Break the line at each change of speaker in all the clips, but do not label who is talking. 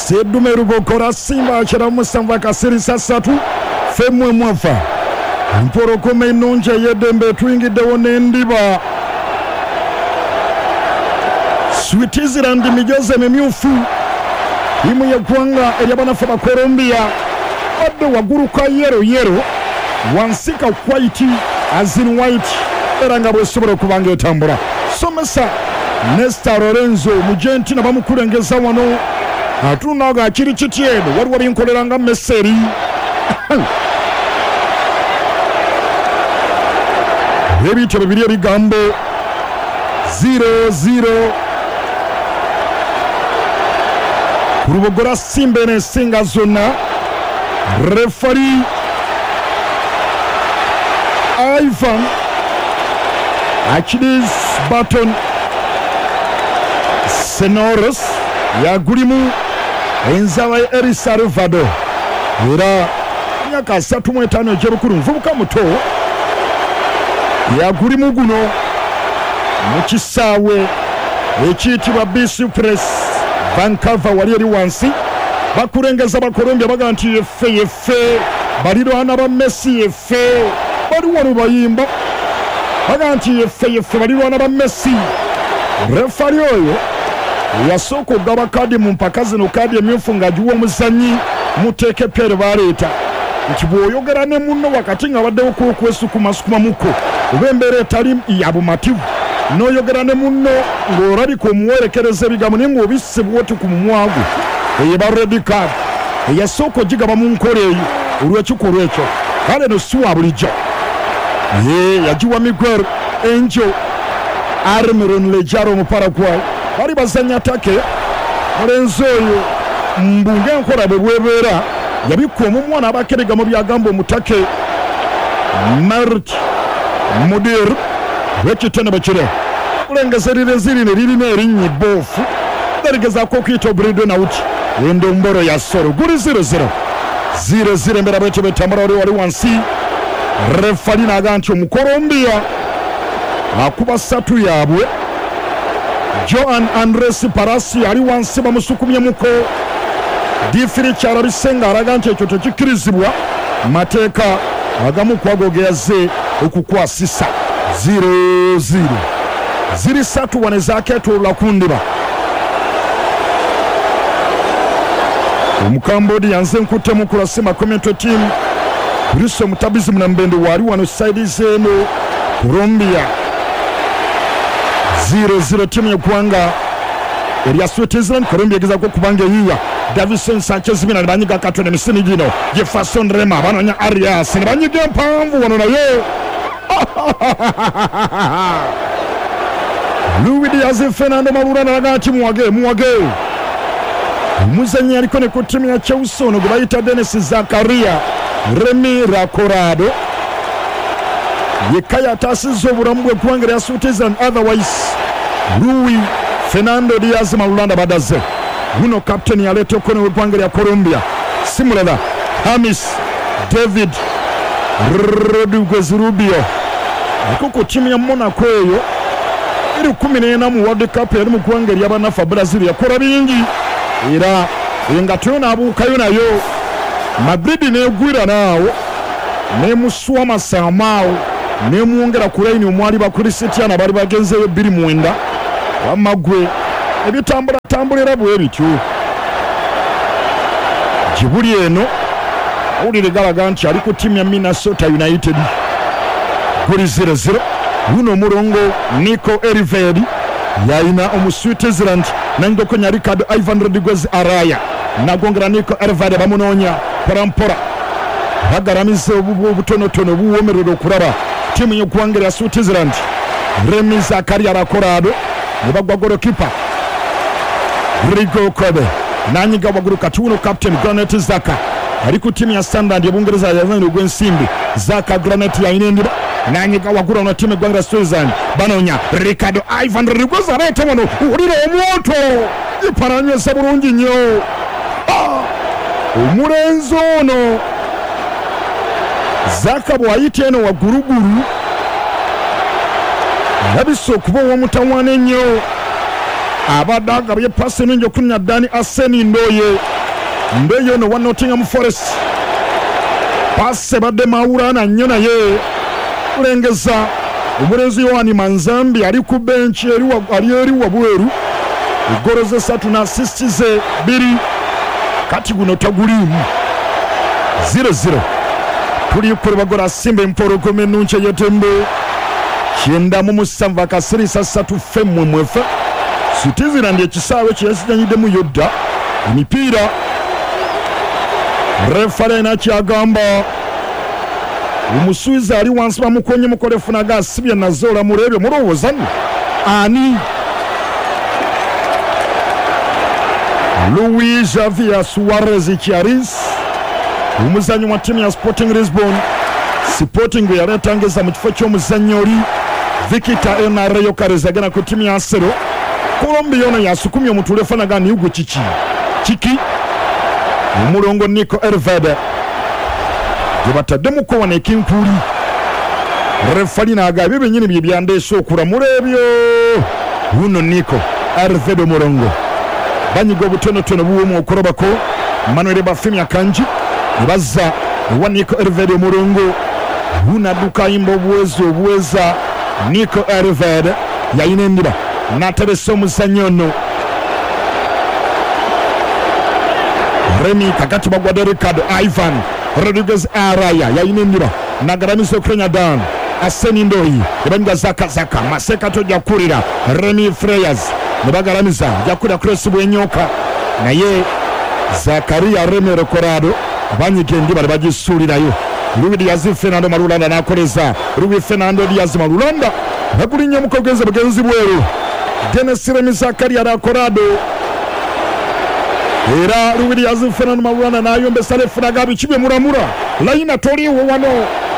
Seddume Rubokora Simba 97 akasirisa 3 femwe mwafa. Empologoma ennungi ey'eddembe etuyingiddewo n'endiba. Switzerland mijozi emimyufu ttiimu y'eggwanga ery'abanafu ba Colombia badde waggulu ka yero yero wansi ka white as in white era nga bwesobola okuba nga etambula. Somesa Nesta Lorenzo Mugentina bamukulengeza wano atunula nga kiri kiti eno waliwo binkolera nga Messi ebityo bibiri ebigambo 0-0 ku Lubogora Simba eno esinga zonna. Refari Ivan Achilles Barton Senoros yagulimu enzaba ya El Salvador era myaka 35 egy'obukulu nvubuka muto yagulimu guno mu kisaawe ekiyitibwa BC Press Vancouver wali eri wansi. Bakulengeza Bakolombia baga nti yeffe yeffe balirwana ba Messi yeffe bali wano bayimba baga nti yeffe yeffe balirwana ba Messi. Refari oyo yasooka okugaba kaadi mu mpaka zino, kaadi emyufu ng'agiwa omuzannyi muteeke Pierre baleeta nti bw'oyogera ne munno wakati nga baddewo kwesukumasukumamuko oba embeera etali ya bumativu n'oyogera ne munno ng'olabika omuwerekereza ebigambo naye ng'obisse bw'oti ku mumwa gwe, eyo eba red card eyasooka ogigaba mu nkola eyo olw'ekikolwa ekyo. Kale eno si wa bulijjo, ye yagiwa Miguel Angel Almiron Lejaro Omuparaguay. Bali bazannya take mulenzi oyo mbu ng'enkola bwe bwebeera yabikka omumwa n'abaako ebigambo by'agamba omutake Mert Mudir w'ekitone bwe kiri kulengeza erirenzi lino eririna erinnya ebboofu galigezaako okuyita Obrido Nauti endombolo ya solo guli 0-0 0-0 embeera bwetyo bwetambula wali wali wansi. Refali n'aga nti Omukolombia akuba ssatu yaabwe. Joan Andres Palacio ali wansi bamusukumyemuko. Difiri kyalabise ng'alaga nti ekyo tekikkirizibwa mateeka agamu ku ago ge yazze okukwasisa. 0-0 ziri ssatu wano ezakeetoolola ku ndiba. Omukambodi yanze nkuttemu ku lwa Simba Community Team. Bruce Omutabizi Munambende waali wano sayidi z'eno Colombia. 0-0 ttiimu y'eggwanga erya Switzerland. Colombia egezaako okuba nga eyiiya Davison Sanchez Mina ne banyiga akatono emisini gino Jefferson Rema banoonya Arias ne banyiga empanvu wano naye Luis Diaz Fernando Malula n'alaga nti muwage muwage. Omuzannyi aliko ne ku ttiimu ya Chelsea ono gwe bayita Denis Zakaria Remi Racorado yekka yataasizza obulamu bw'eggwanga erya Switzerland, otherwise Luis Fernando Diaz Malulanda badaze. Guno captain yaleeta okkono w'eggwanga erya Colombia si mulala Hamis David Rodriguez Rubio aliko ku ttiimu ya Monaco eyo 2014 mu World Cup yali mu ggwanga ery'abanafa Brazil yakola bingi era engatto yo n'abuukayo nayo Madrid n'egwira naawo n'emusuwa masaamaawo n'emwongera ku layini omwali ba Cristiano abaali bagenzeeyo 2009 wamma ggwe ebitambulatambulira bwe bityo gye buli eno awulire galaga nti ali ku ttiimu ya Minnesota United guli 0-0. Luno omulongo Nico Elvedi yalina omu Switzerland nanyigokonya Ricardo Ivan Rodriguez Araya nagongera Nico Elvedi bamunoonya mpola mpola bagalamiza obutonotono obuwoomerera okulaba ttiimu y'eggwanga erya Switzerland. Remi Zakaria Rakorado ne bagwa golokipa Rigo Kobe nanyiga waggulu kati wuno captain Granit Xhaka ali ku ttiimu ya Sunderland ebungereza yazanira ogw'ensimbi. Xhaka Granit yalina endiba nanyiga waggulu ono ttiimu eggwanga lya Switzerland banoonya Ricardo Ivan Rodriguez aleeta wano wulira omwoto gipalanyweza bulungi nnyo. Omulenzi ono Xhaka bw'ayita eno waggulugulu alabise okuba ow'omutawaana ennyo. Abadde agabye pasi ennungi okunya Dani Aseni Ndoye. Ndoye ono wa Nottingham Forest. Pasi ebadde mawulana nnyo naye kulengeza omulenzi Yohani Manzambi ali ku benchi ali eri wabweru. Eggolo ze 3 na assist ze 2. Kati guno taguliimu. 0-0. Tuli kule bagola Simba empologoma ennungi ey'etembe. 97 akasirisa 3 femmwe mwefe. Switzerland ekisaawe kye yasiganyiddemu yodda emipiira. Refale nakyagamba omusuiza ali wansi bamukonye mukole funaga asibye nazola mulebyo mulowooza nno ani? Luis Javier Suarez Chiaris, omuzannyi wa ttiimu ya Sporting Lisbon. Sporting bwe yaleetangeza mu kifo ky'omuzannyi oli Victor Enarreyo Karez agenda ku ttiimu ya Arsenal. Colombia ono yasukumye omutule fanaga ni ugwe kiki kiki omulongo Nico Elvede gye bataddemuko wano ekinkuuli. Refali n'agamba ebyo byennyini bye byandeese okulamula ebyo. Wuno Nico Elvede omulongo banyiga obutonotono buwoomu okulobako Manuel Bafemi Akanji ne bazza ewa Nico Elvede omulongo. Wuno adduka ayimba obuwezi obuweza. Nico Elvede yalina endiba n'ateresa omuzannyi ono Remy kakati bagwadde Ricardo Ivan Rodriguez Araya yalina endiba nagaramiza okulenya Dan Aseni Ndoyi ne Zaka Zaka Maseka tojja kukulira Remy Freyers ne bagaramiza jakulira Cross bwenyoka naye Zakaria Remy Recorado banyiga endiba ne bagisuulirayo. Luis Diaz Fernando Marulanda n'akoleza Luis Fernando Diaz Marulanda bagulinnya omukogenze bugenzi bweru. Dennis Remy Zakaria Recorado era Luis Diaz Fernando Marulanda n'ayombesa lefunaga bikibye muramura layina toliiwo wano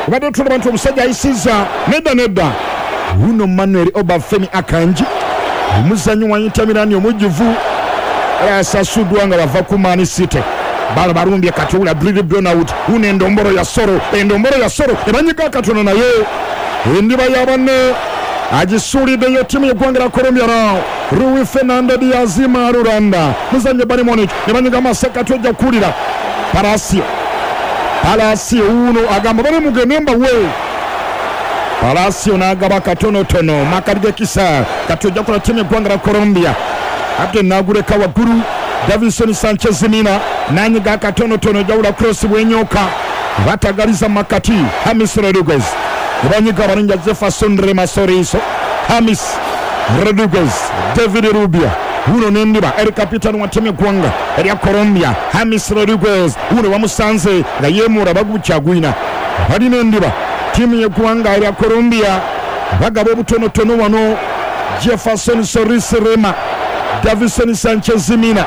obadde tulaba nti omusajja ayisizza nedda nedda. Wuno Manuel Obafemi Akanji omuzannyi wa Inter Milan omujjuvu asasuddwa nga bava ku Man City. Bano balumbye kati ula Brili Brownout wuno endombolo ya Soro, endombolo ya Soro ebanyiga akatono naye endiba ya banne agisuuliddeyo ttiimu y'eggwanga lya Colombia nao Luis Fernando Diaz Marulanda muzannyi Bayern Munich ne banyiga amasekati ojja kuwulira Palacio. Palacio wuno agamba bali mugende mbawe. Palacio n'agaba katonotono Makadi Kisa kati ojja kula ttiimu y'eggwanga lya Colombia ate n'aguleka waggulu Davinson Sanchez Mina n'anyiga akatonotono jawula cross bwenyoka batagaliza makati Hamis Rodriguez banyiga abalinja Jefferson Rema Soriso Hamis Rodriguez David Rubia wuno n'endiba eri kapitani wa ttiimu y'eggwanga erya Colombia Hamis Rodriguez wuno bamusanze nga yeemura bagukyagwina balina endiba ttiimu y'eggwanga erya Colombia bagaba obutonotono wano Jefferson Soris Rema Davison Sanchez Mina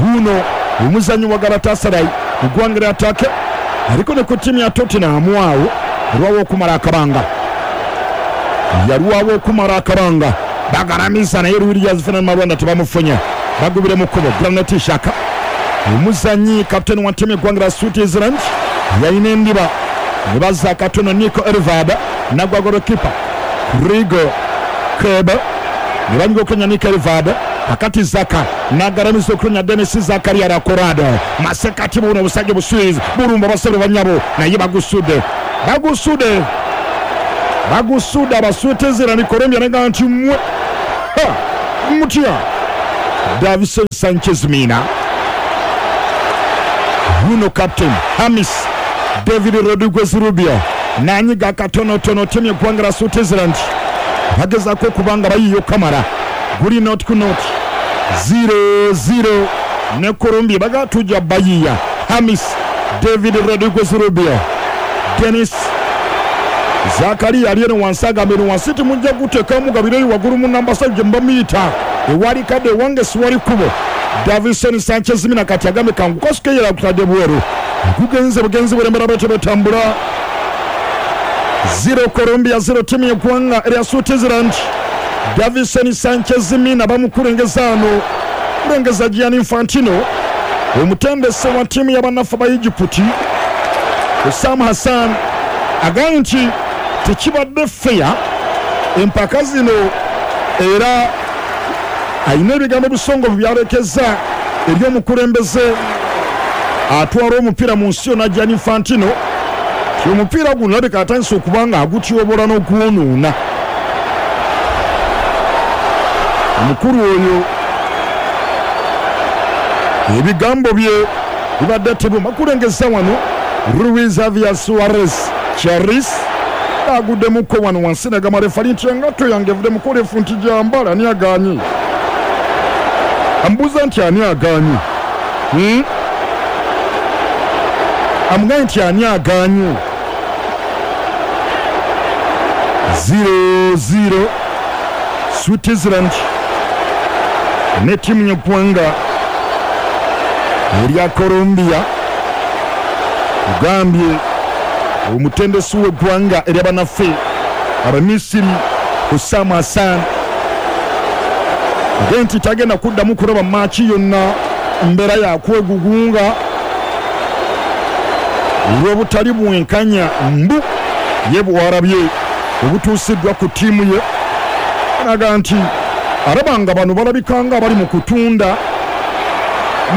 wuno omuzannyi wa Galatasaray mu ggwanga lya Turkey aliko ne ku ttiimu ya Tottenham awo lwawo okumala akabanga yalwawo okumala akabanga bagaramiza naye Luis Diaz Fernando Marulanda tebamufunye bagubire mu kkubo Granit Xhaka omuzannyi kapiteni wa ttiimu y'eggwanga lya Switzerland yalina endiba ne bazza akatono Nico Elvada nagwa golokipa Rigo Kebe ne banyiga okunya Nico Elvada akati Zaka nagaramiza okunya Dennis Zakaria Recorado masekati buno obusajja Buswizi bulumba basebe banyabo naye bagusudde bagusudde bagusudde abaswitizira Colombia naga nti mmwe mutya. Davison Sanchez Mina wuno captain Hamis David Rodriguez Rubio n'anyiga akatonotono ttiimu y'eggwanga lya Switzerland bagezaako okubanga bayiyo kamala guli not ku not 0-0 ne Colombia baga tujja bayiya Hamis David Rodriguez Rubio Dennis Zakaria ali eno wansi agamba eno wansi timujja guteekamu gabireyo waggulu mu namba 7 gye mubamuyita ewali kadde ewange siwali kkubo. Davison Sanchez Mina kati agambe kangu kosukeyera kutadde bweru gugenze bugenzi bwerembera batyo batambula 0 Colombia 0 ttiimu y'eggwanga erya Switzerland. Davison Sanchez Mina bamukulengeza ano kulengeza Gianni Infantino omutendesi wa ttiimu y'abannaffe ba Egypt Osam Hassan agambye nti tekibadde fair empaka zino era Alina ebigambo ebisongovu by'alekezza eri omukulembeze atwala omupiira mu nsi yonna Gianni Infantino nti omupiira guno alabika atandise okuba nga agutyobola n'ogwonoona. Omukulu oyo ebigambo bye bibadde tebuma kulengeza wano Luis Javier Suarez Charis aguddemuko wano wansi nagamba refali nti engatto yange evuddemu refu nti gyambala ani aganye amubuuza nti ani aganye hmm? Amugambye nti ani aganye 0-0 Switzerland ne ttiimu y'eggwanga erya Colombia. Ogambye omutendesi w'eggwanga ery'abanaffe Abamisiri Hussam Hassan age nti tagenda kuddamu kulaba maaki yonna mbeera yakwegugunga olw'obutali bwenkanya mbu ye bw'alabye obutuusiddwa ku ttiimu ye. Alaga nti alaba nga bano balabika nga abali mu kutunda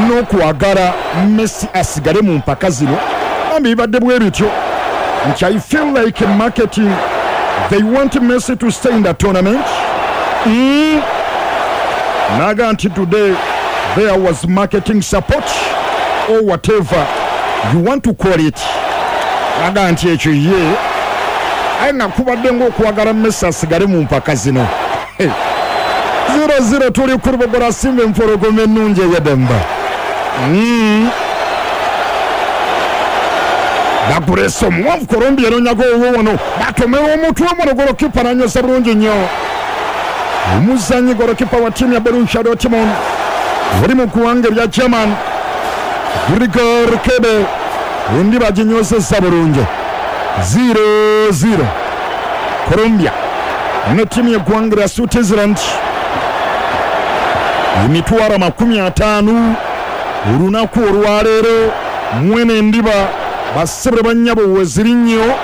n'okwagala Messi asigale mu mpaka zino. Bambi bibadde bwe bityo nti I feel like marketing they want Messi to stay in the tournament. Naga nti today there was marketing support or whatever you want to call it. Naga nti ekyo ye aye nga kubadde ng'okwagala Messi asigale mu mpaka zino. Hey. 0-0 tuli ku Lubogola Simba empologoma ennungi ey'eddembe. Bagulesa omuwanvu Colombia enonyago owuwo wano batomera omutwe wano golokipa nanyweza bulungi nnyo omuzanyi golokipa wa ttiimu ya Borussia Dortmund oli mu ggwanga erya German Grigor Kebe endi baginywezezza bulungi 0-0 Colombia ne ttiimu y'eggwanga lya Switzerland emitwalo 50 olunaku olwaleero mwene endiba bassebule bannyabo weziri nnyo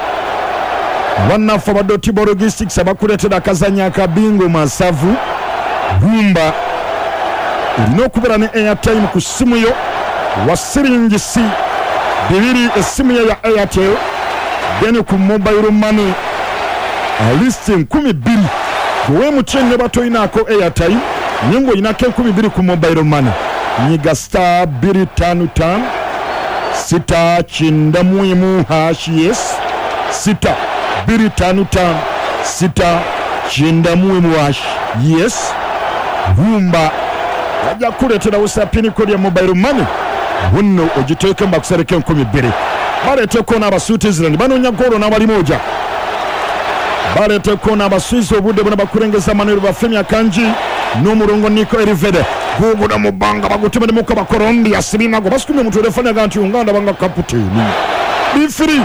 bannaffe aba Dotibo Logistics abakuleetera akazannyo aka bingo masavu gumba olina okubeera ne airtime ku ssimu yo wa siringisi bibiri essimu yo ya Airtel then ku mobile money at least 2000 gwe MTN ne batoyinaako airtime naye ng'oyinako 2000 ku mobile money nyiga star 255 691 hash yes 6 255 691 hash yes gumba bajja kukuleetera busa pin code ya mobile money bunno ogiteeke mbakusereko 2000 baleeteko n'Abaswitzerland banoonya goolo n'abalimoja baleeteko n'Abaswiss obudde buna bakulengeza Manuel Bafemi Akanji n'omulongo Nico Elvedi guguno mu bbanga bagutemeremuko Abakolombia sibinago basukumye omutwe refanaga nti nga ndaba nga kapiteeni bifiri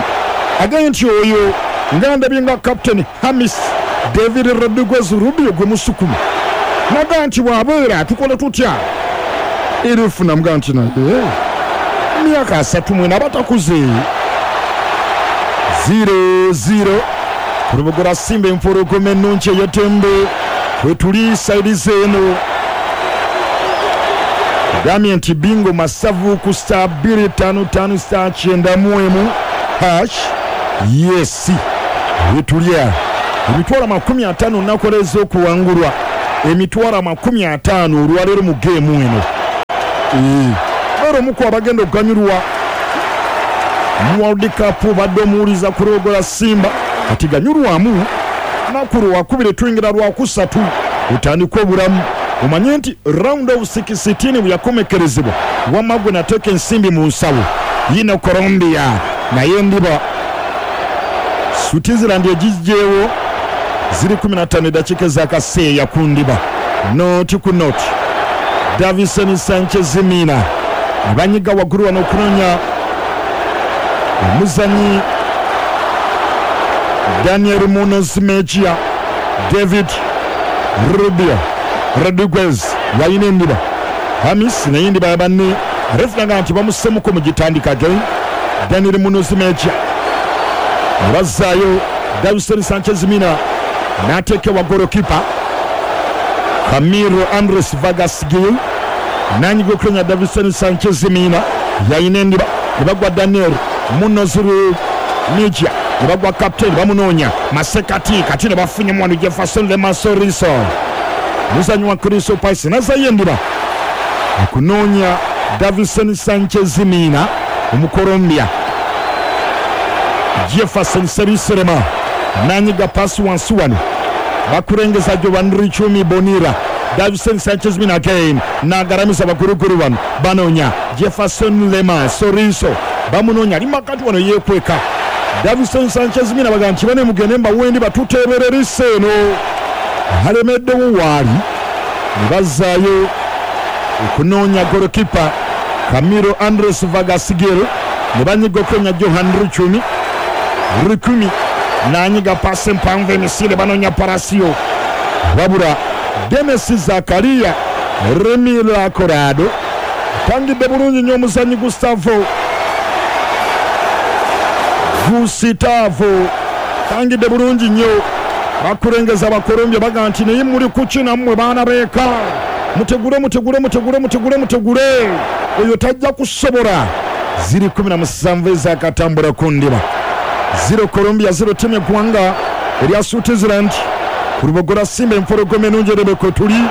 agambye nti oyo nga ndabye nga kapiteeni Hamis David Rodriguez Rubio gwe musukuma naga nti bw'abeera tukole tutya erifu namuga nti naye emyaka 34 abatakuze 0-0 Kulubugula Simba empologoma ennungi ey'eddembe wetuli sayidi zeeno gambye nti bingo masavu ku star 255 star 91 hash yes wetuli awo emitwalo 50 nakoleza okuwangulwa emitwalo 50 olwaleero mu geemu eno beera omu ku abagenda okuganyulwa mu World Cup badde omuwuliza ku Lubogola Simba kati ganyulwamu lunaku lwakubiri tuyingira lwakusatu otandike obulamu omanye nti round of 16 bwe yakomekerezebwa wamma gwe nateeka ensimbi mu nsawo yino Colombia naye ndiba Switzerland egijjeewo ziri 15 eddakiika ez'akaseeya ku ndiba noti ku noti Davison Sanchez Mina abanyiga waggulu wano okunoonya omuzanyi Daniel Munoz Mejia David Rubio Rodriguez yalina endiba Hamis naye endiba ya banne refunaga nti bamusemuko mugitandika again Daniel Munoz Mejia nebazzaayo Davison Sanchez Mina n'ateekewa golokipa Camilo Andres Vargas Gil nanyiga okulenya Davison Sanchez Mina yayina endiba ne bagwa Daniel Munoz Mija ne bagwa captain bamunoonya masekati kati ne bafunye wano Jefferson Lemasoriso muzanyi wa Crystal Palace nazayo endiba okunoonya Davison Sanchez Mina Omukolombia. Jefferson Seriserema nanyiga pasi wansi wano bakurengeza Jovan Richumi Bonira. Davison Sanchez Mina again nagaramiza baguruguru bano banonya Jefferson Lema Soriso bamunonya ali makati wano yekweka. Davison Sanchez Mina bagamba nti bane mugende mbawendi batuteebererisa eno alemeddewo waali ne bazzaayo okunoonya golokipa Camilo Andres Vargas Gil ne banyiga okulenya Johan Richumi Rukumi nanyiga pasi mpanvu emisire banonya Palacio wabula Denis Zakaria Remila Corrado tangidde bulungi nnyo omuzanyi Gustavo tangidde bulungi nnyo. Bakurengeza Abakolombia bagamba nti naye muli kuki nammwe baana beeka, mutegule mutegule mutegule mutegule mutegule, oyo tajja kusobola. Ziri 17 ezakatambula ku ndiba. 0 Colombia 0 timu y'eggwanga erya Switzerland. Ku Lubogola Simba empologoma ennungi erebeka tuli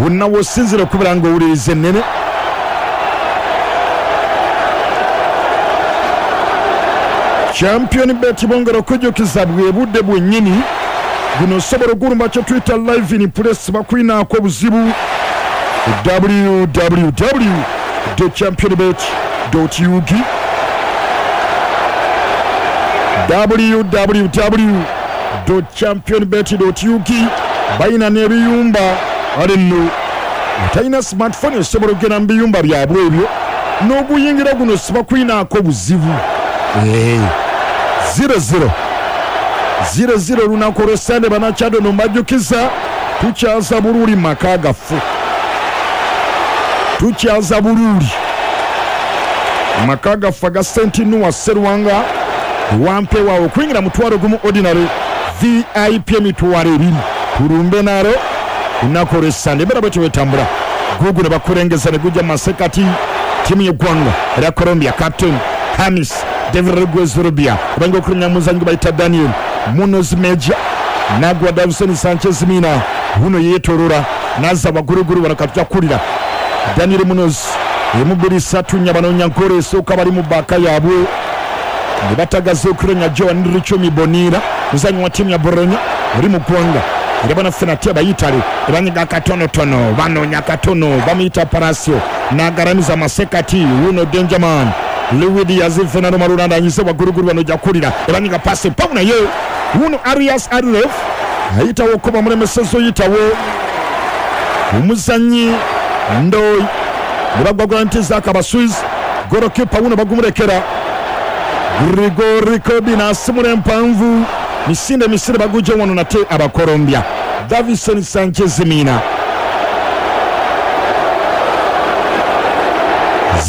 wonna w'osinziira okubeera ng'owuliriza ennene. Champion Bet bongera okujjukiza bwe budde bwennyini guno osobola ogulumba kye tuyita live in place bakulinaako obuzibu www.championbet.ug www.championbet.ug. Balina n'ebiyumba ale nno talina smartphone osobola okugenda mu biyumba byabwe ebyo n'oguyingira guno sibakulinaako obuzibu. 0-0 0-0 olunaku olw'Essande banakyado no mbajjukiza tukyaza Buruuli mu maka gaffe, tukyaza Buruuli maka gaffe aga St Noah Serwanga wampewawo okuyingira mutwalo gumu ordinary VIP emitwalo ebiri tulumbe nalo olunaku olw'Essande. Embeera bwetyo bwetambula gugu ne bakulengeza ne gujja mu masekati ttiimu y'eggwanga erya Colombia captain Hamis David Rodriguez Rubia kubanga okulinya muzanyi bayita Daniel Munoz Meja nagwa Davison Sanchez Mina huno yeetolola nazza baguruguru bano katujja kukulira Daniel Munoz emubiri satu nnya banoonya goolo esooka bali mu bbaaka yaabwe ne batagaza okulinya Joan Richomi Bonira muzanyi wa ttiimu ya Bologna oli mu ggwanga era banaffe nate abayitale banyiga katonotono banoonya katono bamuyita Palacio n'agaramiza masekati wuno Dangerman Luis Diaz Fernando Marulanda anyize baguruguru bano ojja kukulira ebanyiga pasi pamu naye wuno Arias Arlef ayitawo okuba mulemeseza oyitawo omuzanyi Ndoyi ne bagwagula nti Zaka Baswiz golokipa wuno bagumurekera Grigori Kobi n'asimula empanvu misinde misinde bagujja wano nate Abakolombia Davison Sanchez Mina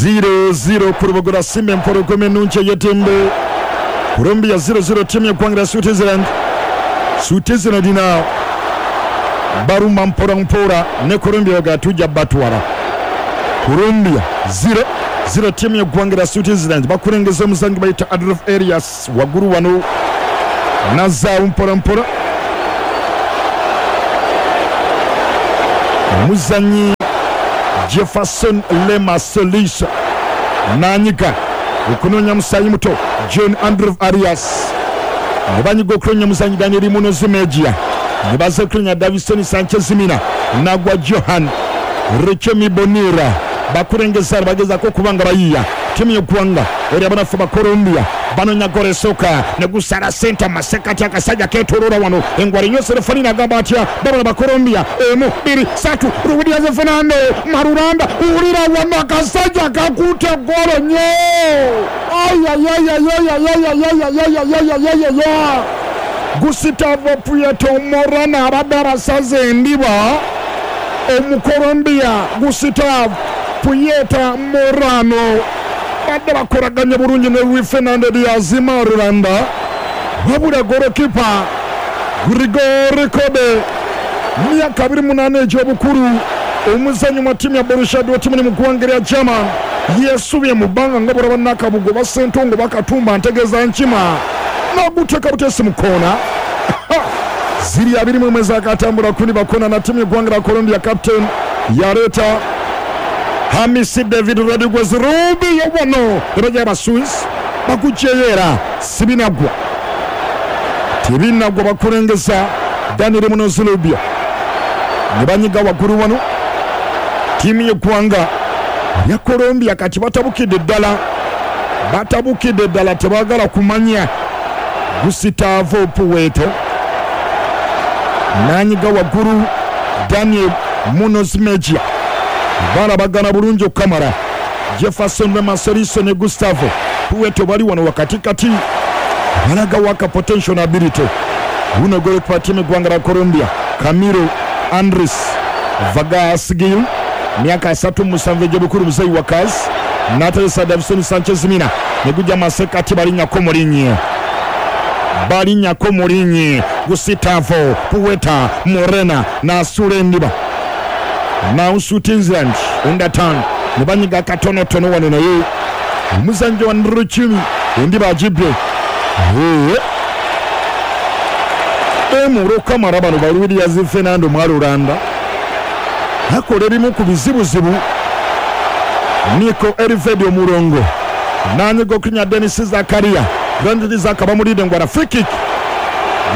0-0 ku Lubogola Simba empologoma ennungi ey'eddembe. Colombia 0-0 ttiimu y'eggwanga lya Switzerland. Switzerland na barumba mpola mpola ne Colombia baga tujja batwala. Colombia 0-0 ttiimu y'eggwanga lya Switzerland bakulengeza omuzanyi bayita Adolf Elias waggulu wano nazaawo mpola mpola omuzanyi Jefferson Lema Solisa nanyiga okunoonya musaayi muto John Andrew Arias ne banyiga okunoonya muzanyi Daniel Munoz Mejia ne baza okunoonya Davison Sanchez Mina nagwa Johan Richemi Bonira bakurengeza bagezaako okuba nga bayiiya ttiimu y'eggwanga eri abanafu ba Colombia banoonya goolo esooka ne gusala senta masekati akasajja keetooloola wano engwala nnyo Serefani n'agamba atya babona ba Colombia emu bbiri satu Luis Diaz Fernando Marulanda wulira wano akasajja kakutte goolo nnyo ayayayayayayayayayayayayayaya Gustavo Prieto Morano abadde abasaze endiba Omukolombia Gustavo Prieto Morano badde bakolaganye bulungi ne Luis Fernando Diaz Marulanda wabula golokipa Grigori Kobe Myaka 28 egy'obukulu, omuzannyi wa ttiimu ya Borussia Dortmund mu ggwanga erya German yeesubye mu bbanga nga bw'olaba Nakabugo oba Ssentongo oba Katumba ntegeeza Nkima n'aguteeka buteesi mu kkoona. Ziri 21 ezakatambula kundi bakona na ttiimu y'eggwanga lya Colombia. Captain yaleeta Hamisi David Rodriguez Rubio wano ne bajja Abaswiss baguggyeyo era sibinaggwa tebinaggwa bakulengeza Daniel Munoz Rubio ne banyiga waggulu wano ttiimu y'eggwanga lya Colombia kati batabukidde ddala batabukidde ddala tebaagala kumanya. Gustavo Puerto n'anyiga waggulu Daniel Munoz Mejia balabagana bulungi okukamala. Jefferson Remaseriso ne Gustavo Puerto bali wano wakatikati balaga waka potential na ability. Wuno golikipa ttiimu eggwanga lya Colombia Camilo Andres Vargas Gil myaka 37 egy'obukulu muzeeyi wa Kazi n'ateresa Davison Sanchez Mina ne gujja masekati balinnyako mulinnye balinnyako mulinnye Gustavo Puerta Morena n'asuula endiba Now Switzerland underturn ne banyiga katonotono wano naye omuzannyi wa Nruchimi endiba agibbye Emuro Kamara bano ba Luis Fernando Mwalulanda akola ebimu ku bizibuzibu. Nico Elvedi omulongo nanyiga okunya Denis Zakaria. Granit Zaka bamulidde ngwala free kick.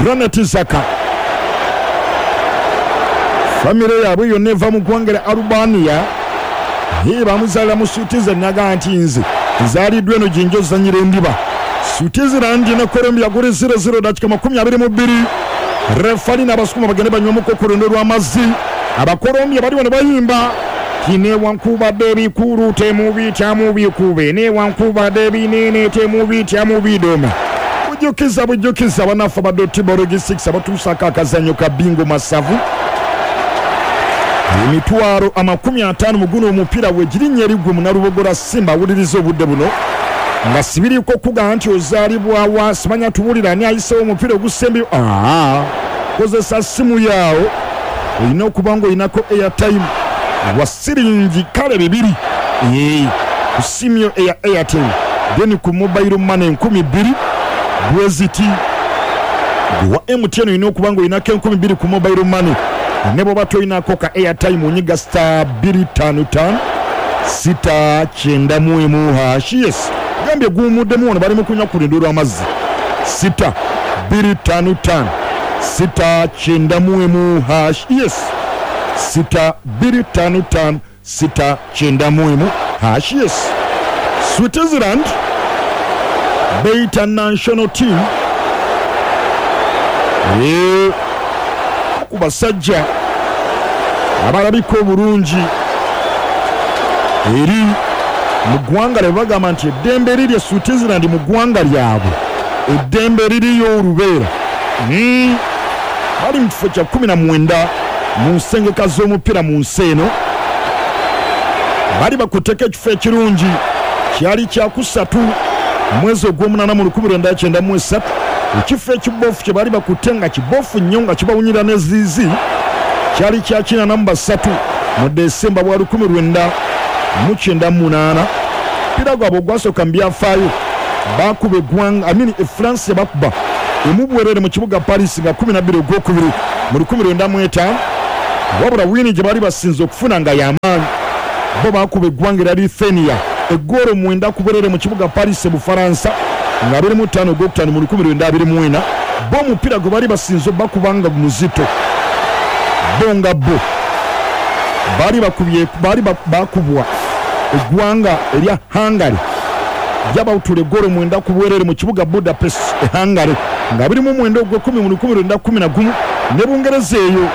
Granit Zaka famire yaabwe yonna eva mu ggwanga lya Albania, ye bamuzaalira mu Switzerland naga nti nze nzaaliddwa eno gye nja ozannyira endiba. Switzerland ne Colombia guli 0-0 dakika 22. Refali n'abasukuma bagende banywamuko ku luno lw'amazzi. Abakolombia bali wano bayimba ti newankubadde ebikulu temubitya mubikube, newankubadde ebinene temubitya mubidome. Bujjukiza bujjukiza bannaffe aba Dotibo Logistics abatuusaako akazannyo ka bingo masavu emitwalo 50 mu guno omupiira wegirinnya eriggwe Munalubogola Simba awuliriza obudde buno nga sibiriiko okugamba nti ozaalibwa wa simanya tuwulira ani ayiseewo omupiira ogusembyeyo. Kozesa simu yaawo, olina okuba nga olinako airtime wa siringi kale 2 ku simu yo eya Airtel, then ku mobile money 2000 bweziti. Wa MTN olina okuba nga olinako 2000 ku mobile money, ne bw'oba tolinako ka airtime onyiga star 255 691 hash. Yes, gambye guwumuddemu wano bali mu kunywa ku lundo lw'amazzi. 6 255 691 hash. Yes, 6 255 691 hash. Yes, Switzerland beyita national team ku basajja abalabika obulungi eri mu ggwanga lye bagamba nti eddembe liri e Switzerland mu ggwanga lyabwe eddembe liriyo olubeera. Bali mu kifo kya 19 mu nsengeka z'omupiira mu nsi eno. Bali bakutteko ekifo ekirungi kyali kyakusatu mwezi ogw'omunaana mu 1993. Ekifo ekibofu kye baali bakutte nga kibofu nnyo nga kibawunyira n'eziizi kyali kya 83 mu Desemba bwa 1998. Omupiira gwabwe ogwasooka mu byafaayo baakuba eggwanga amini e France yabakuba emu bwerere mu kibuga Paris nga 12 ogwokubiri mu 1995. Wabula wiini gye baali basinze okufuna nga y'amaanyi, bo baakuba eggwanga erya Lithuania eggoolo 9 ku bwerere mu kibuga Paris e Bufaransa nga 25 ogwokutaano mu 1924. Bo omupiira gwe baali basinze bakuba nga muzito, bo nga bo baali bakubye baali bakubwa eggwanga erya Hungary lyabawutula eggoolo 9 ku bwerere mu kibuga Budapest e Hungary nga 29 ogw'ekumi mu 1911. Ne Bungereza eyo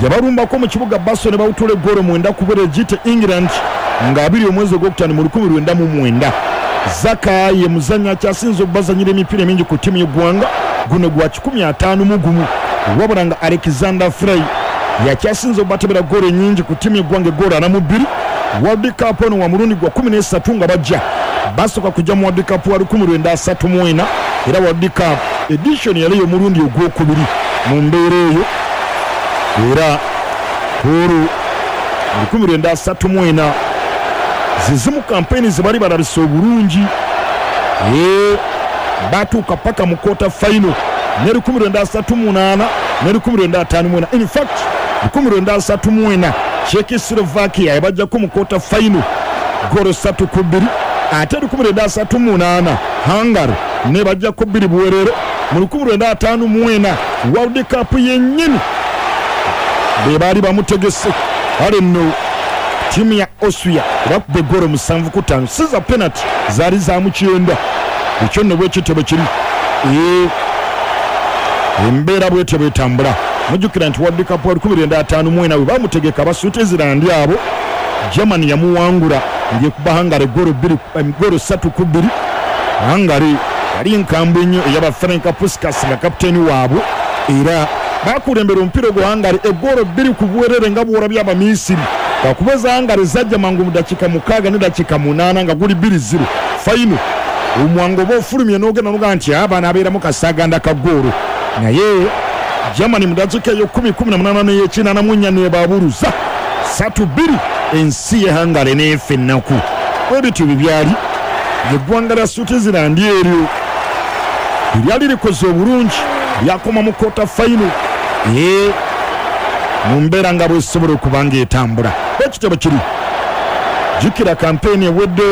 yabalumbako mu kibuga Basel ne bawutula eggoolo 9 ku bwerere giyite England nga 2 omwezi ogwokutaano mu 1909. Zaka ye muzannyi akyasinze okubazannyira emipiira emingi ku ttiimu y'eggwanga, guno gwa 151, wabula nga Alexander Frey yakyasinze okubatebera ggoolo ennyingi ku ttiimu y'eggwanga eggoolo 42. World Cup ono wa mulundi gwa 13 nga bajja basooka kujja mu World Cup wa 1934 era World Cup edition yali ey'omulundi ogwokubiri mu mbeera eyo. Era ku olwo mu 1934 ze zimu kampeyini ze bali balabise obulungi. Ee, batuuka paka mu quarter final ne 1938 ne 1954. In fact, 1934 Czechoslovakia yabajjako mu quarter final ggoolo 3-2, ate 1938 Hungary nebajjako 2 buwerere. Mu 1954 World Cup yennyini be baali bamutegese. Kale nno ttiimu ya Austria bakuba eggoolo 7-5, si za penalty, zaali za mu kyenda. Ekyo nno bwekityo bwe kiri. Ee, embeera bwetyo bwetambula. Mujjukira nti World Cup wa 1954 bwe bamutegeka aba Switzerland abo, Germany yamuwangula ng'ekuba Hungary eggoolo 3-2. Hungary yali nkambwe nnyo eyaba Ferenc Puskas nga kapiteeni waabwe, era bakulembera omupiira ogwo Hungary eggoolo 2 ku bwerere nga bw'olabye Abamisiri. Kakuba eza Hungary zajja mangu mu dakiika 6 ne dakiika 8 nga guli 2-0 final. Omwango oba ofulumye n'ogenda n'ogamba nti abaana abeeramu kasaaganda ka ggoolo, naye Germany mu dakiika eyo 10 18 n'ey'ekinana nebaabuluza 3-2, ensi ye Hungary n'efa ennaku. Bwe bityo bwe byali. Eggwanga lya Switzerland eryo eryali likoze obulungi lyakoma mu quarter final ee mu mbeera nga bwesobola okuba ng'etambula. Bwekityo bwe kiri. Jjukira kampeyini ewedde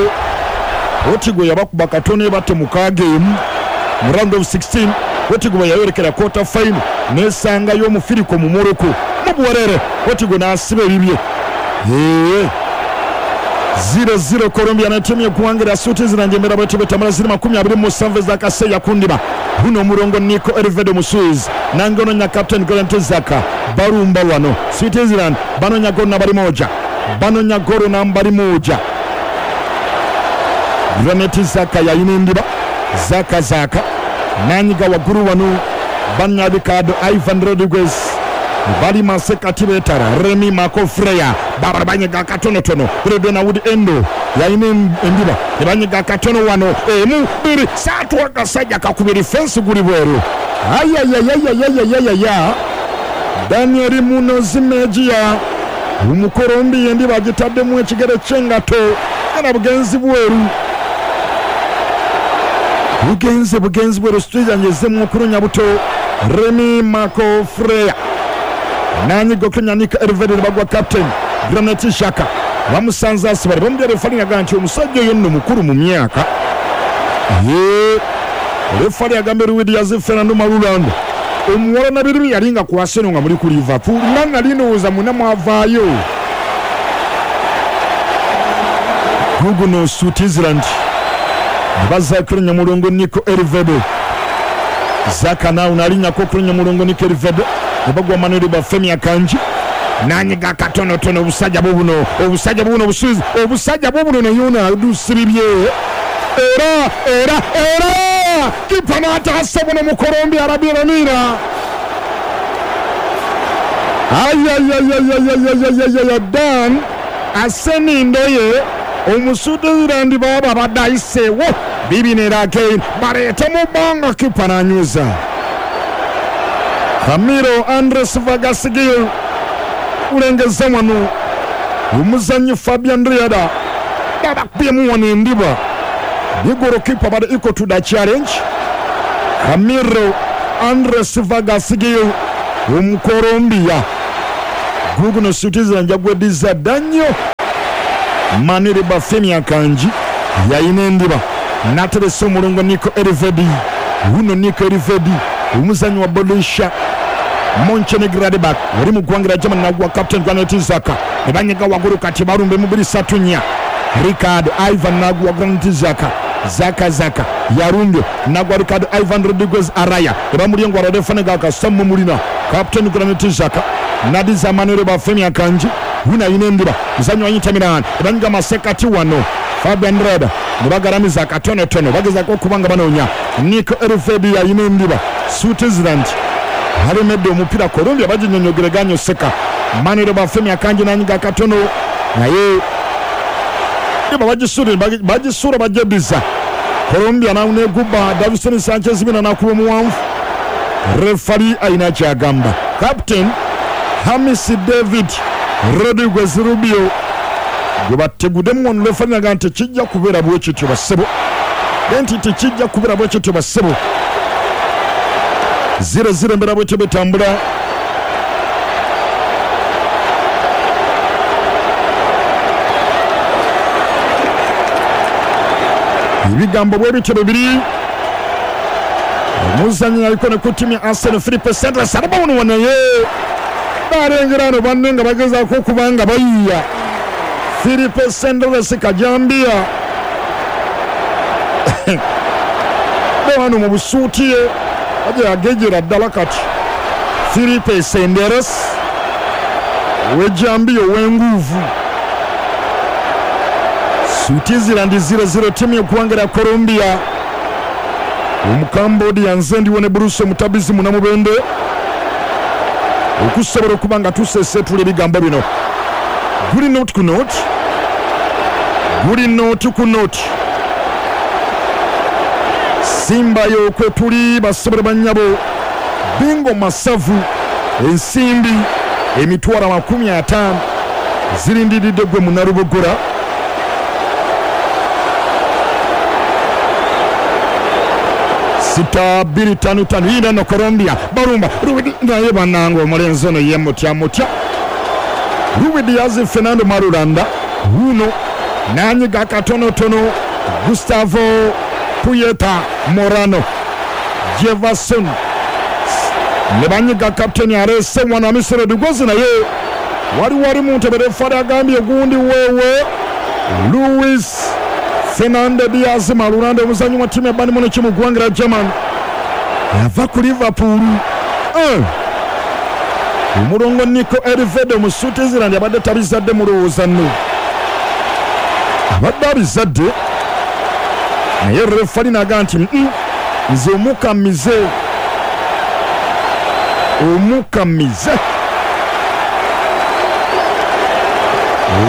Portugal yabakuba katono ebatte 6-1 mu round of 16. Portugal bwe yayolekera quarter final n'esangayo omufiriko mu Morocco mu buwerere, Portugal n'asiba ebibye. Ee, 0-0 Colombia n'ettiimu y'eggwanga lya Switzerland. Embeera bwetyo bwetambula. Ziri 27 ez'akaseera kundiba guno omulongo Nico Elvedi Omuswiz nange ononya captain Granit Xhaka. Balumba wano Switzerland, banonya golo nambari moja, banonya golo nambari moja. Granit Xhaka yayina endiba. Xhaka, Xhaka nanyiga waggulu wano, banya Ricardo Ivan Rodriguez bali masekati betara Remy Marco Freya babara banyiga katonotono. Redona Wood Endo yayina endiba, ebanyiga katono wano, emu, bbiri, satu, akasajja kakubiri fensi, guli bweru. Ayayayayayayayaya, Daniel Munoz Mejia Omukolombiya endiba agitaddemu ekigere ky'engato era bugenzi bweru, bugenze bugenzi bweru. Switzerland ezzemu okunonya buto. Remy Marco Freya nanyiga okutonya Nico Elvedi, bagwa captain Granit Xhaka bamusanze asibale bamudya. Refali agamba nti omusajja oyo nno mukulu mu myaka. Ye refali agambye Luis Diaz Fernando Marulanda omuwala nabiribi yali nga ku Arsenal nga muli ku Liverpool nga nali ndowooza muna mwavaayo. Guguno Switzerland bazza okulinnya mulongo Nico Elvedi. Xhaka naawe nalinnyako okulinnya mulongo Nico Elvedi ne bagwa Manuel Bafemi Akanji nanyiga katonotono. Obusajja bubuno, obusajja bubuno, obusuizi obusajja bubuno, naye adusiribye era era era kipa n'ataasa buno mu Colombia arabiramira. Ayayayayayayayaya, Dan Aseni Ndoye Omuswitzerland baba abadde ayiseewo bibinera again baleete mu bbanga, kipa n'anyweza. Camilo Andres Vargas Gil ulengeza wano omuzannyi Fabian Riada babakubyemu wano endiba ni golokipa bali equal to the challenge. Camilo Andres Vargas Gil Omukolombiya guguno Switzerland jagweddiza dda nnyo. Manuel Bafemi Akanji yayina endiba n'ateresa omulongo Nico Elvedi. Wuno Nico Elvedi omuzannyi wa Borussia Mönchengladbach oli mu ggwanga lya Germany nagwa captain Granit Xhaka ne banyiga waggulu kati balumbe mu 2-3-4. Ricardo Ivan nagwa Granit Xhaka, Xhaka, Xhaka yarumbye nagwa Ricardo Ivan Rodriguez Araya ebamulyengo aradefane gakasamu mulina captain Granit Xhaka nadiza Manuel Bafemi Akanji. Wuna ayina endiba muzannyi wa Inter Milan ebanyiga masekati wano Fabian Reda ne bagalamiza akatonotono bagezaako okuba nga banoonya Nico Elvedi ayina endiba. Switzerland alemedde omupiira, Colombia baginyonyogereganya oseka. Manuel Bafemi Akanji nanyiga akatono naye ba bagisula bajediza Colombia naneguba Davison Sanchez bina nakuba omuwanvu. Refali ayina kyagamba captain Hamisi David Rodriguez Rubio gwe bategudemu wano lefali naga nti tekijja kubeera bwe kityo bassebo, nti tekijja kubeera bwe kityo bassebo. 0-0 embeera bwetyo betambula. Ebigambo bwe bityo bibiri. Omuzannyi aliko ne ku ttiimu ya Arsenal Philippe Sanders alaba wano naye balengera ano banne nga bagezaako okuba nga bayiiya. Philippe Sanders kajambiya wano mu busuuti ye aje agejera ddala kati. Philippe Sanders ow'ejambiya ow'enguuvu. Switzerland 0-0 ttiimu y'eggwanga lya Colombia. Omukambodia nze ndiwo ne Bruce Omutabizi Munamubende okusobola okuba nga tusesetula ebigambo bino. Guli noti ku noti, guli noti ku noti. Simbayo kwe tuli basobole bannyabo. Bingo masavu ensimbi emitwalo 50 zirindiridde gwe Munalubogora. Sita bbiri ttaano ttaano yinda no Colombia balumba Ruidi naye bannange omulenzi ono ye mutya mutya. Ruidi Diaz Fernando Marulanda wuno n'anyiga katonotono Gustavo Puyeta Morano Jefferson ne banyiga kapiteni aleese wano Hamisi Rodriguez naye wali wali mu ntebe refari agambye gundi wewe Luis Fernando Diaz Marulanda omuzannyi wa ttiimu ya Bayern Munich mu ggwanga lya German yava ku Liverpool. Omulongo Nico Elvede mu Switzerland abadde tabizadde mulowooza nno abadde abizadde naye refari naga nti nze omukamize omukamize.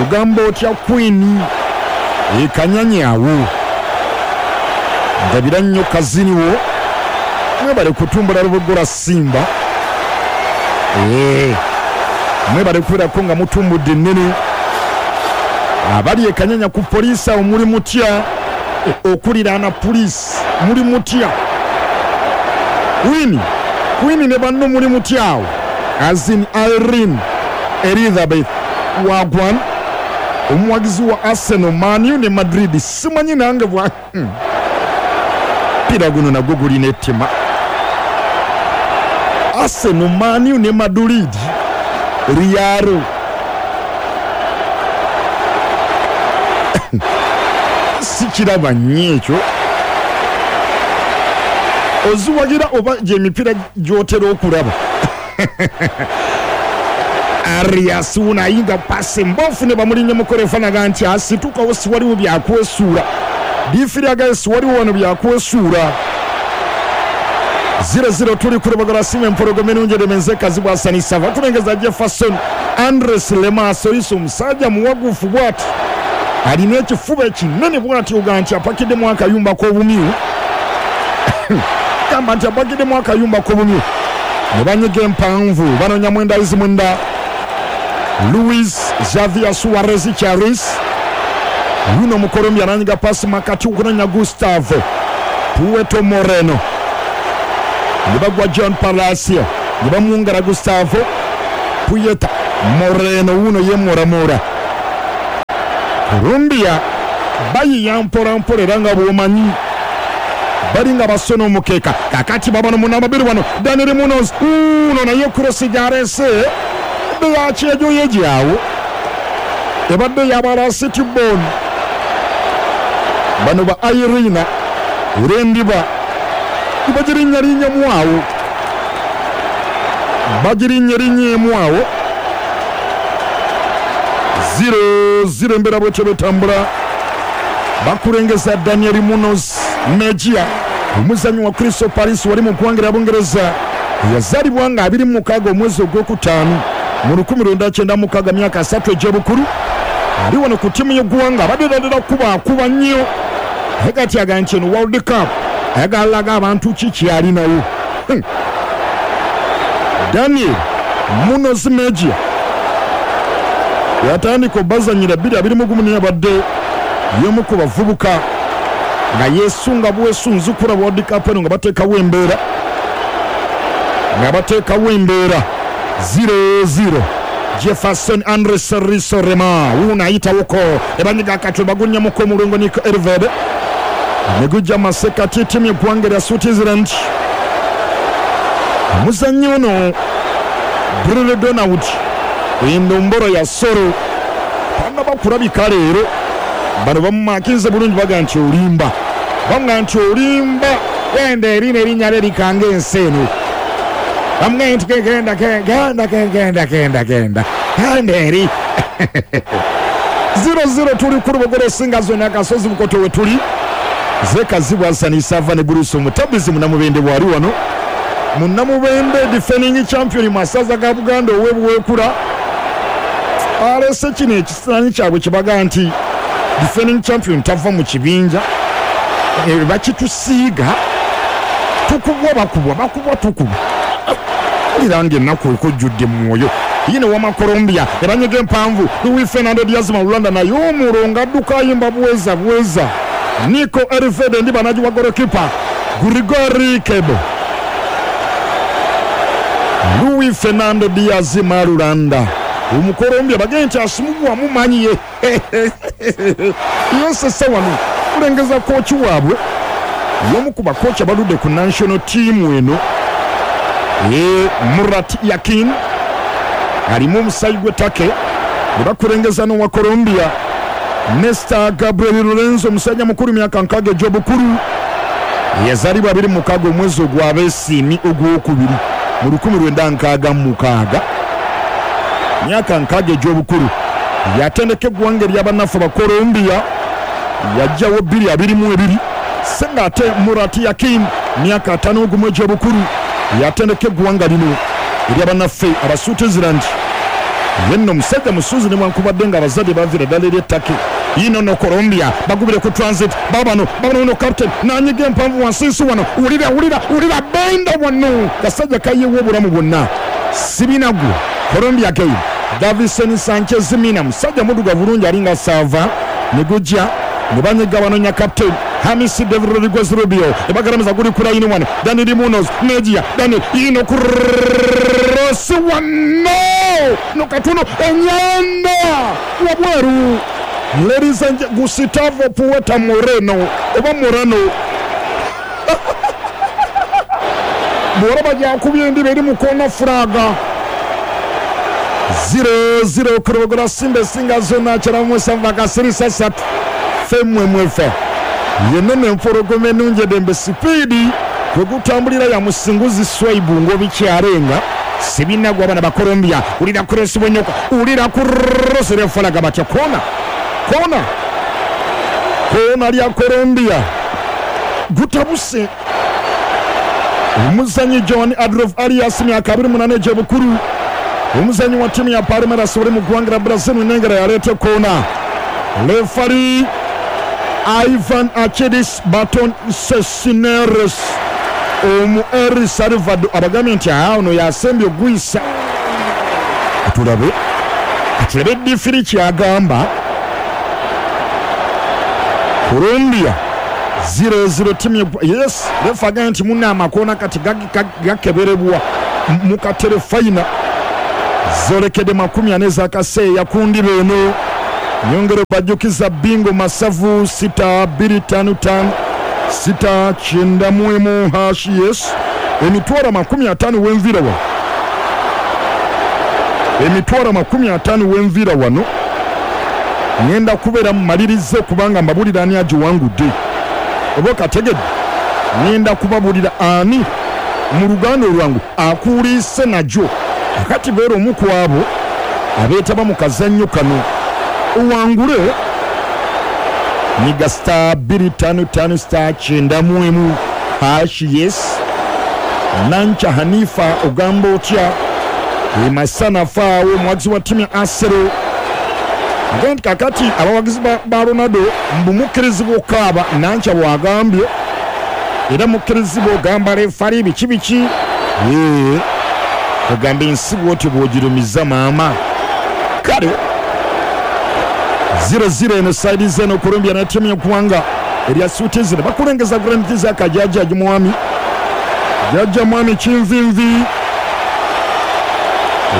Ogamba otya Queen ekanyanyawo ndabira nnyo kaziniwo mwebale kutumbula Luboggola Simba. Mwebale kubeerako nga mutumbudde ennene. Abali ekanyanya ku poliisi awo muli mutya? Okuliraana poliisi muli mutya? Queen ne banno muli mutya awo? Azin Irene Elizabeth Wagwan omuwagizi wa Arsenal, Man U ne Madrid simanyi nange bwa pira guno nagwo gulina ettima. Arsenal, Man U ne Madrid, Real sikiraba nnyo ekyo. Oziwagira oba gy'emipiira gy'otera okulaba. Arias wuno ayinga pasi mbofu ne bamulinnya mukola efaanaga nti asitukawo siwaliwo byakwesuula. Difiri agaye siwaliwo wano byakwesuula. 0-0 tuli ku Luboggola Simba empologoma ennungi eremenze Kazibwe Hassan Sava. Tulengeza Jefferson Andres Lemas oyise omusajja muwagufu bw'ati alina ekifuba ekinene bw'ati oga nti apakiddemu akayumba k'obumyu. Gamba nti apakiddemu akayumba k'obumyu. Ne banyiga empanvu banoonya mwenda izi mwenda Luis Javier Suarez Charis wuno Mukolombia ananyiga pasi makati okunoonya Gustavo Puerto Moreno ne bagwa John Palacio ne bamwongera Gustavo Puerto Moreno wuno ye moramora. Colombia bayiya mpola mpola era nga bw'omanyi balinga basona omukeka. Kakati babano munamba bbiri wano Daniel Munoz uno naye kurosi gy'aleese yakyejo yegyawo ebadde yabala City Bon. Bano ba Irina era endiba bagirinnyalinnyemu awo bagirinnyalinnyemu awo. 0-0 embeera bwetyo betambula. Bakulengeza Daniel Munoz Mejia omuzannyi wa Crystal Palace wali mu ggwanga lya Bungereza yazaalibwa nga 26 omwezi ogwokutaano mu 1996 myaka 3 egy'obukulu. Ali wano ku ttiimu y'eggwanga abadde ddala kuba nnyo naye kati agamba nti eno World Cup ayagala laga abantu ki kyalinawo. Daniel Munoz Mejia yatandika obazanyira 2021 naye abadde y'omu ku bavubuka nga yesunga bwesunzi kulaba World Cup eno nga bateekawo embeera nga bateekawo embeera. 0-0 Jefferson Andres Risorema wuuno ayitawoko ebanyiga akatwe bagunyamuko omulongo Nico Elved ne gujja masekati ttiimu y'eggwanga erya Switzerland. Omuzannyi ono Bruno Donald endombolo ya Soro tannaba kulabika leero. Bano bamumakinze bulungi, baga nti olimba, bamuga nti olimba, genda eri n'erinnya lye likanga ensi eno. Bamugambye nti genda genda genda genda genda genda eri. 0-0 tuli ku Lubogolo esinga zonna akasozi Bukoto we tuli Zekazibwa Hassan Sava ne Bruce Omutabizi Munamubende bwali wano. Munamubende defending champion mu masaza ga Buganda ow'ebuweekula alese kino ekisaanyi kyabwe kibaga nti defending champion tava mu kibinja, bakitusiiga tukubwa bakubwa bakubwa tukubwa mpulira nga ennaku ekujjudde mu mwoyo. Yine wama Colombia ebanyega empanvu Luis Fernando Diaz Marulanda naye omulongo adduka ayimba bweza bweza. Nico Elvedi ndi banagiwa golokipa Grigori Kebo. Luis Fernando Diaz Marulanda Omukolombia bagende nti asimubwa mumanyiye yesese wano kulengeza kooki waabwe y'omu ku bakooki abaludde ku national team eno ye Murat Yakin alimu omusayi gw'ettake ne bakulengeza n'owa Colombia Nesta Gabriel Lorenzo omusajja mukulu myaka 60 egy'obukulu yazaalibwa 26 omwezi ogw'abeesiimi ogwokubiri mu 1966 myaka 60 egy'obukulu yatendeka eggwanga ery'abannaffe ba Colombia yajjawo 2022 se nga ate Murat Yakin myaka 51 egy'obukulu yatendeka eggwanga lino ery'abannaffe aba Switzerland. Ye nno omusajja musuuzi newankubadde nga abazadde baviira ddala eri ettake. Yino no Colombia bagubire ku transit babano babano no captain nanyiga empanvu wansi wano wulira wulira wulira benda wano kasajja kayewo obulamu bwonna sibinagu. Colombia again Davison Sanchez Mina musajja muddugavu bulungi alinga saava ne gujja ne banyiga banonya captain Hamisi David Rodriguez Rubio ebagaramiza guli ku layini wano Daniel Munoz Mejia Daniel yino cross wano no katono enyanda wabweru. Ladies and Gustavo Puerta Moreno oba Morano bw'olaba gyakubye endiba eri mu koona furaga. 0-0 ku Lubogolo Simba esinga zonna kyalamu akasirisa ssatu ffe mwefe yenene empologoma ennungi eddembe sipiidi kwe gutambulira ya musinguzi Swaibu ng'obikyarenga sibinagwa abana ba Colombia. Wulira kuresi bwenyoka wulira kurosi refalaga batya kona kona kona lya Colombia gutabuse. Omuzanyi John Adolf Arias myaka 28 egy'obukulu omuzanyi wa ttiimu ya Palmeiras oli mu ggwanga lya Brazil nengera yaleeta kona. Lefali Ivan Achidis Baton Cesineres omu El Salvador abagambye nti ono yasembye ogwisa. Tulabe tulabe difiri kyagamba. Colombia 0-0 timu yes refa agambye nti munna amakoona kati gakeberebwa mukatere fayina zolekedde 40 ez'akaseeya ku ndiba eno. Nyongere bajjukiza bingo masavu 6255 691 hash yes emitwalo 50 wenvira wano emitwalo 50 wenvira wano ngenda kubeera mumalirize kubanga mbabulira ani agiwangudde oba okategedde ngenda kubabulira ani mu luganda olwangu akuliise nagyo akati beera omu ku abo abeetaba mu kazannyo kano owangule nyiga star 255 star 91 hash yes. Nancha Hanifa ogamba otya emasana faawo omuwagizi wa ttiimu ya Arsenal agambye kakati abawagizi ba Ronaldo mbu mukkirizibwa okukaaba. Nancha bw'agambye era mukkirizibwa ogamba refari biki biki. Kwegamba ensi bwotyo bw'ogirumiza maama. Kale 0-0 eno saidi zeno Colombia na timu y'eggwanga erya Switzerland bakulengeza Granit Xhaka jajja mwami jajja mwami Kinvinvi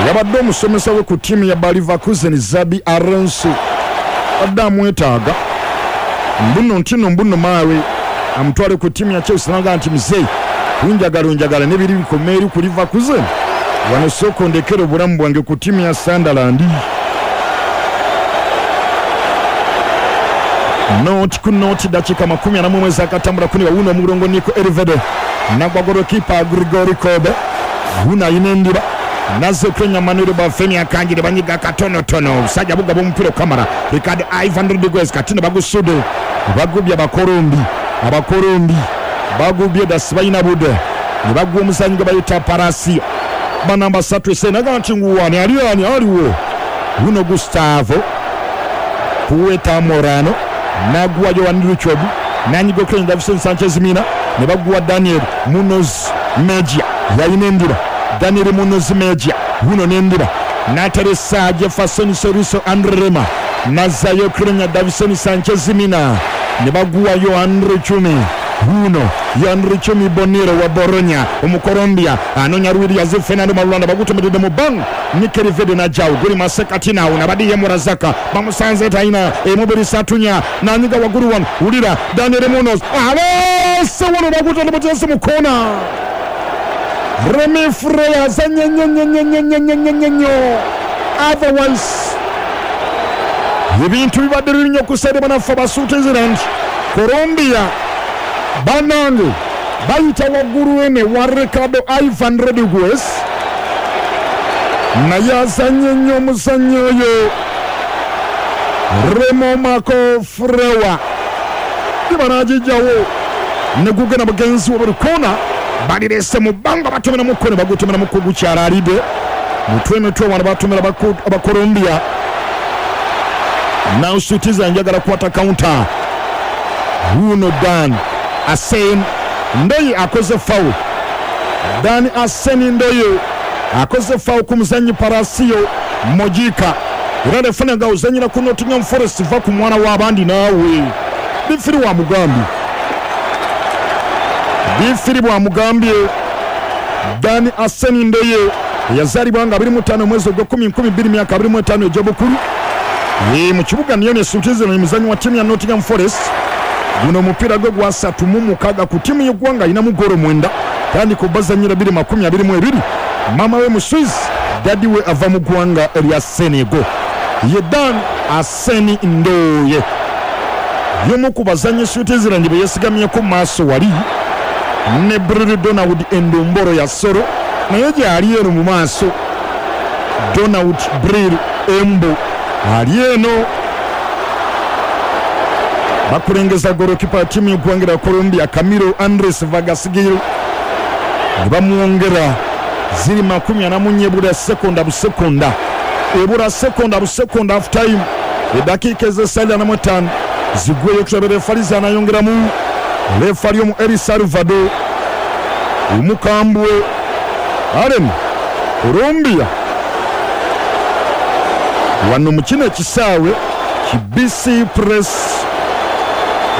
yabadde omusomesa we ku ttiimu ya Bayer Leverkusen Xabi Alonso badde amwetaaga mbuno ntino mbuno maawe amutwale ku ttiimu ya Chelsea naga nti muzeeyi kunjagala onjagala nebiri bikoma eri ku Leverkusen wano sooka ondekere obulamu bwange ku ttiimu ya Sunderland. Noti ku noti dakika 41 ezakatambula kuni wawuno omulongo Nico Elvede nagwa golokipa Grigori Kobe wuna ayina endiba naze okwenya Manuel Bafemi akangire banyiga katonotono obusajja bugaba omupiira okamala Ricardo Ivan Rodriguez katino bagusudde bagubye abakolombi abakolombi bagubye dasi balina budde ne bagwa omuzanyi gwe bayita Parasio banamba 3 ese naga nti nguwani ali ani aliwo wuno Gustavo Pueta Morano nagwa Joan Richard nanyiga okwenya Davison Sanchez Mina ne bagwa Daniel Munoz Mejia yalina endiba Daniel Munoz Mejia wuno n'endiba n'ateresa Jefferson Soriso Andrema nazayo okwenya Davison Sanchez Mina ne bagwa Joan Richard wuno Yoan Chumi Bonero wa Bologna Omukolombia anonya Ruiz Fernando Marulanda bagutomedde mu bang Mikel Vede na Jao guli masekatina unabadiye Murazaka bamusanze taina emubiri satunya nanyiga waguru wano ulira Daniel Munoz alese wano bagutomedde mutese mu kona Remy Freya azanye nnyo otherwise ebintu bibadde bibi nnyo ku side banaffe ba Switzerland. Colombia banange bayita waggulu ene wa Ricardo Ivan Rodriguez naye azanye nnyo omuzannyi oyo Remo Marco Frewa ibanagijjawo ne gugenda mugenzi wa buli kona balirese mu bbanga batomera mu kona bagutomera mu kugukyala alidde mutwe mitwe wano batomera Abakolombia. Now Switzerland njagala kukwata counter. Wuno Dan Asen Ndoye akoze foul. Dan Asen Ndoye akoze foul ku muzannyi Parasio Mojika era refana nga uzanyira ku Nottingham Forest va ku mwana w'abandi naawe bifiri wa mugambi bifiri bwa mugambye. Dan Asen Ndoye yazaalibwa nga 25 mwezi ogwa 10 2025 egy'obukulu mu kibuga Nyon Switzerland muzannyi wa ttiimu ya Nottingham Forest. Guno omupiira gwe gwa 36 ku ttiimu y'eggwanga alinamu ggoolo 9 kandi ku bazannyira 2022. Maama we mu Swiss, daddy we ava mu ggwanga erya Senegal. Ye Dan Asen Ndoye y'omu ku bazannyi Switzerland be yeesigamyeko maaso wali ne Bril Donald Endomboro ya Soro naye gyali eno mu maaso. Donald Bril Embo ali eno bakulengeza golokipa wa ttiimu y'eggwanga lya Colombia Camilo Andres Vargas Gil ne bamwongera ziri 44 ebula sekonda busekonda ebula sekonda busekonda half time eddakiika ez'essaala 45 zigweyo tulabe refali zanayongeramu refali omu El Salvador omukambwe Allen Colombia wano mu kino ekisaawe ki BC Press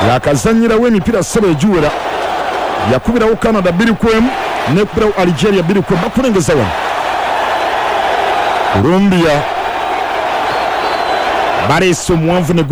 yakazanyirawo emipiira ssebo egiwera yakubirawo Canada 2-1 nekubirawo Algeria 2-1 bakulengeza wano Colombia baleese omuwanvu ne